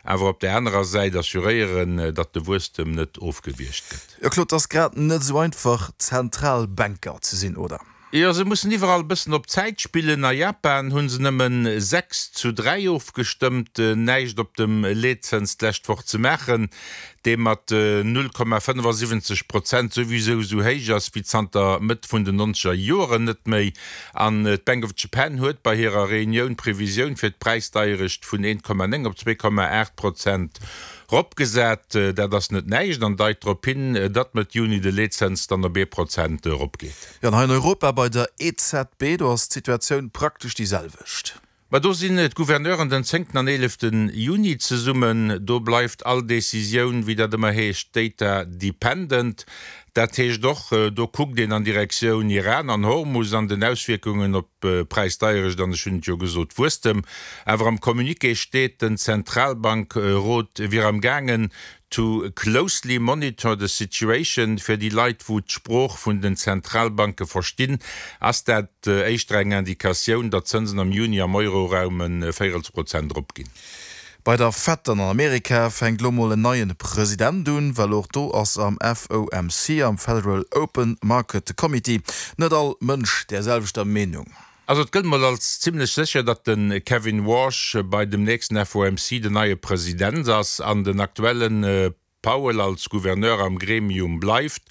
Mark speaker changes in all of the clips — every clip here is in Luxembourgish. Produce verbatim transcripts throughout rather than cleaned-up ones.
Speaker 1: Awer op der anerer Säit assuréieren, datt de Wuesstem net ofgewiergt gëtt.
Speaker 2: Jo Claude, et ass grad net esou einfach Zentralbanker ze sinn, oder?
Speaker 1: Jo, se mussen iwwerall bëssen op Zäit spillen. A Japan hu se nëmmen sechs zu dräi ofgestëmmt, näischt op dem Leetzëns d'lescht Woch ze maachen, dee mat null Komma fënnefasiwwenzeg Prozent souwisou esou héich ass wéi zanter Mëtt vun den nonzeger Joren net méi. An d'Bank of Japan huet bei hirer Reunioun d'Previsioun fir d'Präisdeierecht vun eent Komma néng op zwee Komma aacht Prozent Ropgesat. Dat ass net näischt an deit drop hin, datt Mëtt Juni de Leetzëns dann op ee Prozent eropgeet.
Speaker 2: Jo, an hei an Europa bei der E Z B, do ass d'Situatioun praktesch déi selwecht.
Speaker 1: Ma do sinn d'Gouverneuren den zéngten an eeleften Juni zesummen. Do bleift all Decisioun, wéi dat ëmmer heescht, data dependent. Dat heescht och, do kuckt een an Direktioun Iran an Hormus an den Auswierkungen op d'Präisdeierecht an, ech hunn et jo gesot, Wuesstem. Awer am Communiqué steet, den Zentralbankrot wier am gaangen to closely monitor the situation. Fir déi Leit, wou d'Sprooch vun den Zentralbanke verstinn, ass dat éischter eng Indikatioun, datt d'Zënsen am Juni am Euroraum e Véirelsprozent eropginn.
Speaker 2: Bei der Fed dann an Amerika fänkt lo mol en neien President un, well och do ass am F O M C, am Federal Open Market Committee, net all Mënsch där selwechter Meenung.
Speaker 1: Also et gëllt mol als zimlech sécher, datt de Kevin Warsh bei dem nächsten F O M C den neie President ass an den aktuellen Powell als Gouverneur am Gremium bleift.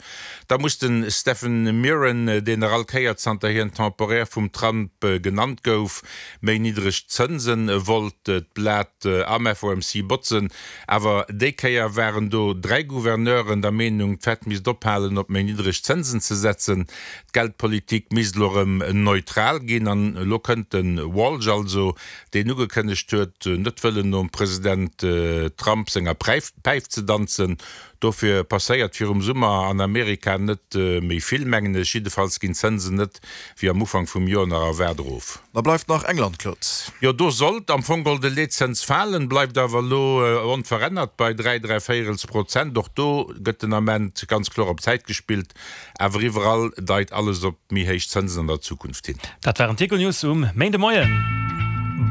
Speaker 1: Da muss de Stephen Miran, deen nach all Kéier zanter hien temporär vum Trump genannt gouf, méi niddreg Zënsen wollt, d'Blat am F O M C botzen. Awer déi Kéier waren do dräi Gouverneuren der Meenung, d'Fed misst ophalen op méi niddreg Zënsen ze setzen, d'Geldpolitik misst elo erëm neutral ginn. An elo kënnt de Walsh also, deen ugekënnegt huet, net wëllen nom President Trump senger Päif ze danzen. Dofir passéiert virum Summer an Amerika net méi vill, mengen ech. Jiddefalls ginn d'Zënsen net, wéi am Ufank vum Joer nach erwaart, erof.
Speaker 2: Da bleift nach England, Claude.
Speaker 1: Jo, do sollt am Fong geholl de Leetzëns falen, bleift awer elo onverännert bei dräi dräivéierels Prozent. Och do gëtt den Ament ganz kloer op Zäit gespillt. Awer iwwerall deit alles op méi héich Zënsen an der Zukunft hin.
Speaker 3: Dat waren d'Econews um Méindemoien.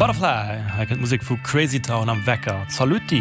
Speaker 3: Butterfly, hei kënnt d'Musek vu Crazy Town am Wecker. Zalutty!